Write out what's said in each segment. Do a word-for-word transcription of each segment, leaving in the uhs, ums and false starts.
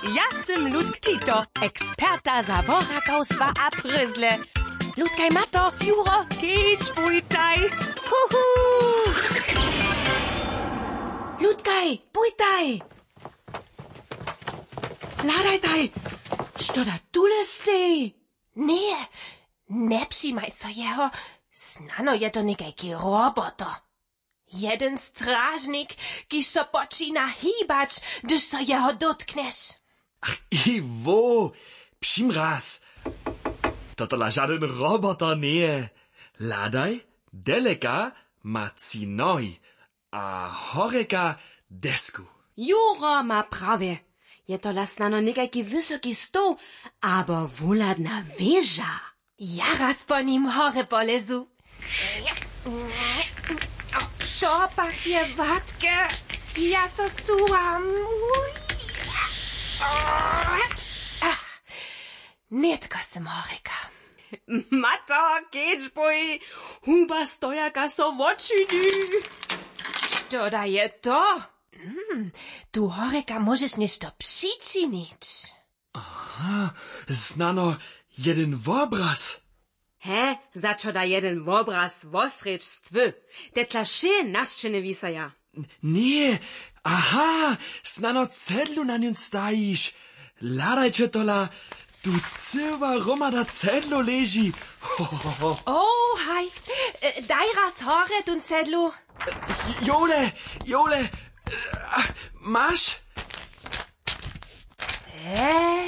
Ja sym Ludk Kito, eksperta za borakawstwa a prězle. Ludkaj, Mato, Juro, kedź bójtaj. Huhu. Ludkaj, bójtaj. Hladajtaj. Što da tule stej? Ně, njepřimaj so jeho. Snano je to někajki roboto. Jedyn stražnik, kiž so počina hibać, hdyž so jeho dótknješ. Iwo, přimraz. Totola žadyn roboter njeje. Hladaj, deleka ma tři nohi a horjeka desku. Juro ma prawje. Je tola snano někajki wysoki stoł abo wuhladna wěža. Ja raz po nim horje polezu. To pak je watke. Ja so suwam. Nětko sym horjeka. Mato, kedź bój. Huba stojaka so wočini. Što da je to? Hmm, tu horjeka móžeš něšto přičinić. Aha, snano jedyn wobraz. He, za čo da jedyn wobraz wosrjedź stwy? Te tla wšě na sćěnje wisaja. Ně, aha, snano cedlu na njón stajiš. Hladajće tola, tu cyła hromada cedlow leži. Ho, ho, ho, ho. O, haj, e, daj raz horje tón cedlu. Jole, jole, e, maš? E,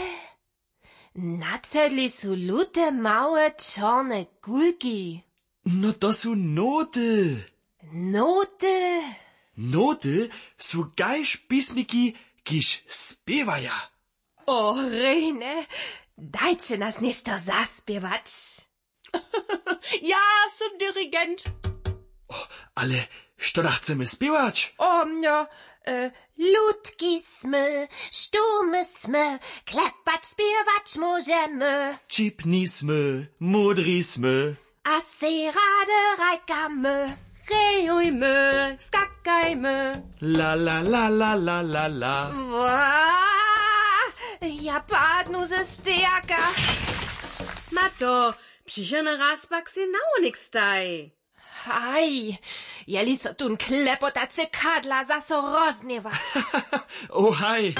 na cedli su lute małe čorne kulki. No to su noty. Noty? Noty su kaž pismiki, kiž spěwaja. O, rejne, dajće nas něšto zaspěwać. Ja sym dirigent. O, ale što da chcemy spěwać? O, no, e, ludki smy, šturmy smy, klepać, spěwać móžemy. Ćipni smy, módri smy. A sej rady rajkamy. Rejujmy, skakajmy. La, la, la, la, la, la, la. Wa, ja padnu ze stejaka. Mato, přichodny raz pak sej na wonik staj. Haj, jeli so tón klepotacy kadla zaso rozhněwa. O haj.